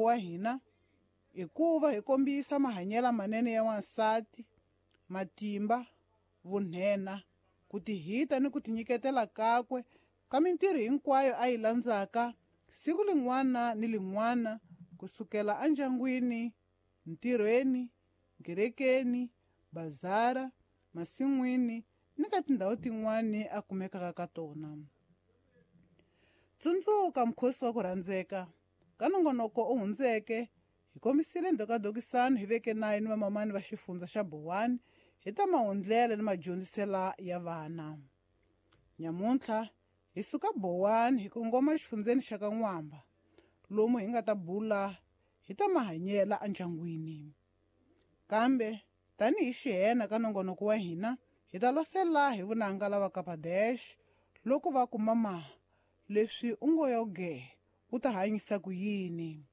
nongonoko wa hina i ku va hi kombisa mahanyelo manene ya wansati, matimba, vunhena, ku tihita ni ku tinyiketela kakwe ka mintirho hinkwayo a yi landzaka siku lin'wana ni lin'wana kusukela endyangwini, ntirhweni, nkerekeni, bazara, masin'wini ni ka tindhawu tin'wana a kumekaka ka tona. Tsundzuka mukhosi wa ku rhandzeka ka nongonoko u hundzeke hi kombisile ndhokadokisano hi veke nayo ni vamamani va xifundza xa Bowani hi ta mahundlela ni madyondzisela ya vana. Nyamuntlha hi suka Bowani hi kongoma exifundzeni xa ka N'wamba lomu hi nga ta bula hi ta mahanyela endyangwini. Kambe tanihi xihena ka nongonoko wa hina hi ta losela hi vunanga lava Kapadesh loko va ku mama leswi u ngo yo ge u ta hanyisa ku yini.